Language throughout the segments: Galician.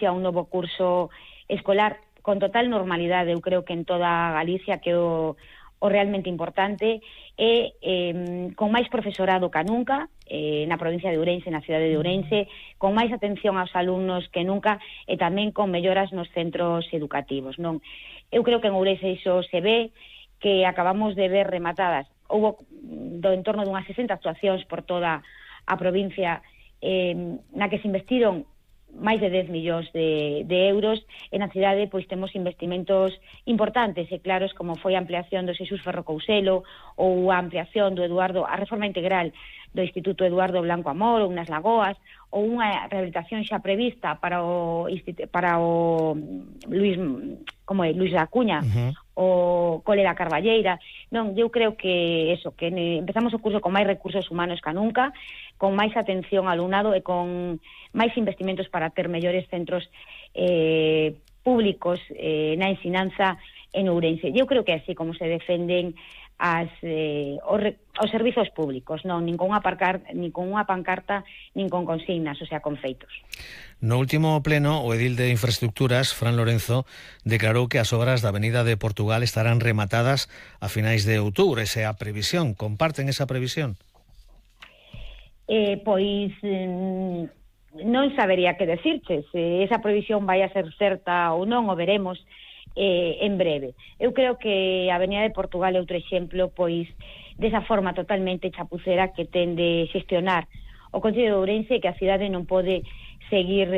a un novo curso escolar con total normalidade, eu creo que en toda Galicia, que é o realmente importante, e con máis profesorado que nunca, na provincia de Ourense, na cidade de Ourense, con máis atención aos alumnos que nunca, e tamén con melloras nos centros educativos, non? Eu creo que en Ourense iso se ve, que acabamos de ver rematadas. Houbo do entorno dunhas 60 actuacións por toda a provincia, na que se investiron máis de 10 millóns de euros, e na cidade pois temos investimentos importantes e claros, como foi a ampliación do Xesús Ferro Couselo, ou a ampliación do a reforma integral do Instituto Eduardo Blanco Amor, ou nas Lagoas, ou unha rehabilitación xa prevista para o Luis da Cuña, o Cole da Carballeira. Non, eu creo que eso, que empezamos o curso con máis recursos humanos que nunca, con máis atención ao alumnado e con máis investimentos para ter mellores centros públicos na ensinanza en Ourense. Eu creo que así como se defenden os servizos públicos, non, nin con unha pancarta, nin con consignas, o sea, con feitos. No último pleno, o edil de Infraestructuras, Fran Lorenzo, declarou que as obras da Avenida de Portugal estarán rematadas a finais de outubro. Esa é a previsión. Comparten esa previsión? Pois non sabería que decirche se esa previsión vai a ser certa ou non, o veremos en breve. Eu creo que a Avenida de Portugal é outro exemplo, pois, desa forma totalmente chapucera que ten de xestionar o Concello de Ourense, que a cidade non pode seguir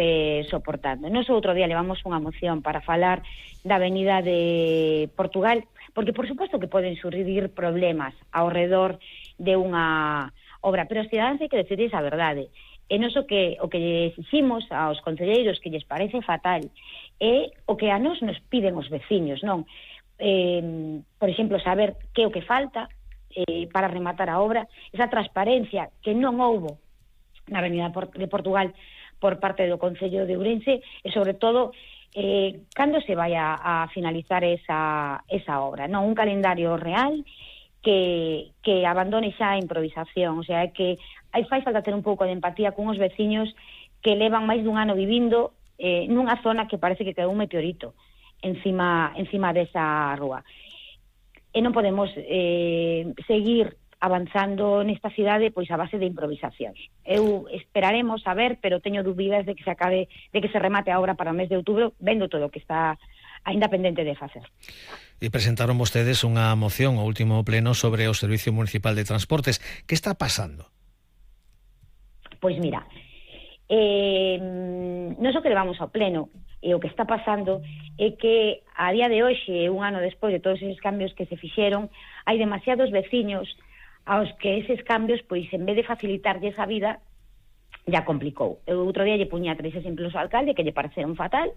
soportando. Nos outro día levamos unha moción para falar da Avenida de Portugal, porque por suposto que poden surgir problemas ao redor de unha obra, pero os cidadáns hai que decidir a verdade. E nos o que lle exiximos aos concelleiros, que lles parece fatal, é o que a nos piden os veciños, non? Por exemplo, saber que é o que falta para rematar a obra, esa transparencia que non houbo na Avenida de Portugal por parte do Concello de Ourense, e sobre todo cando se vai a finalizar esa obra, non? Un calendario real que abandone xa a improvisación, o sea, que fai falta ter un pouco de empatía con os veciños que levan máis dun ano vivindo nunha zona que parece que quedou un meteorito encima desa rúa. E non podemos seguir avanzando nesta cidade pois a base de improvisacións. Eu esperaremos a ver, pero teño dúbidas de que se remate a obra para o mes de outubro, vendo todo o que está aínda pendente de facer. E presentaron vostedes unha moción ao último pleno sobre o Servicio Municipal de Transportes. Que está pasando? Pois mira, non só que levamos ao pleno, e o que está pasando é que a día de hoxe, un ano despois de todos eses cambios que se fixeron, hai demasiados veciños aos que eses cambios, pois en vez de facilitarlles a vida, ya complicou. Eu outro día lle puña 3 exemplos ao alcalde que lle pareceron fatal,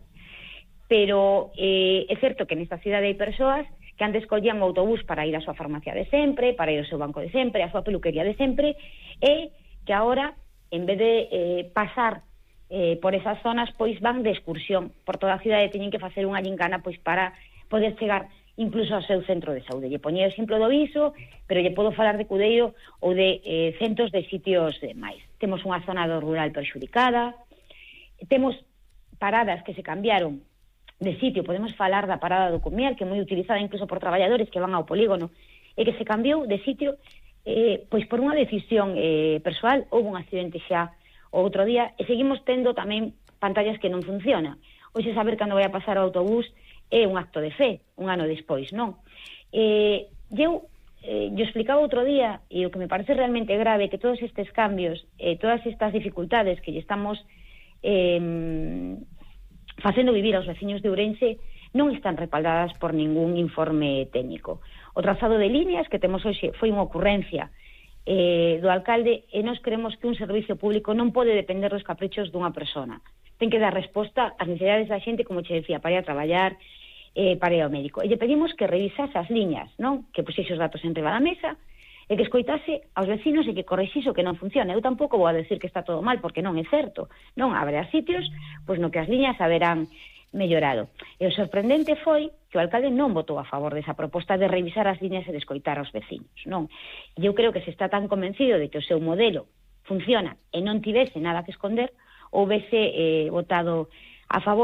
pero é certo que nesta cidade hai persoas que antes collían o autobús para ir á súa farmacia de sempre, para ir ao seu banco de sempre, á súa peluquería de sempre, e que agora, en vez de pasar por esas zonas, pois van de excursión por toda a cidade, teñen que facer unha gincana pois para poder chegar incluso ao seu centro de saúde. Lle poñía o exemplo do Viso, pero lle podo falar de Cudeiro ou de centros de sitios máis. Temos unha zona do rural perxudicada, temos paradas que se cambiaron de sitio, podemos falar da parada do Cumiel, que é moi utilizada incluso por traballadores que van ao polígono, e que se cambiou de sitio pois por unha decisión persoal. Houve un accidente xa o outro día, e seguimos tendo tamén pantallas que non funcionan. Hoxe saber cando vai a pasar o autobús é un acto de fe, un ano despois, non? Eu explicaba outro día, e o que me parece realmente grave, que todos estes cambios, todas estas dificultades que lle estamos facendo vivir aos veciños de Ourense non están respaldadas por ningún informe técnico. O trazado de líneas que temos hoxe foi unha ocurrencia do alcalde, e nós creemos que un servicio público non pode depender dos caprichos dunha persona. Ten que dar resposta ás necesidades da xente, como che decía, para ir a traballar, para ir ao médico. E lle pedimos que revisase as liñas, non? Que puxese os datos enriba da mesa, e que escoitase aos vecinos e que correxise o que non funciona. Eu tampouco vou a decir que está todo mal, porque non é certo. Non, haberá sitios pois no que as liñas haberán mellorado. E o sorprendente foi que o alcalde non votou a favor desa proposta de revisar as liñas e de escoitar aos vecinos, non? E eu creo que se está tan convencido de que o seu modelo funciona e non tivese nada que esconder, houvese votado a favor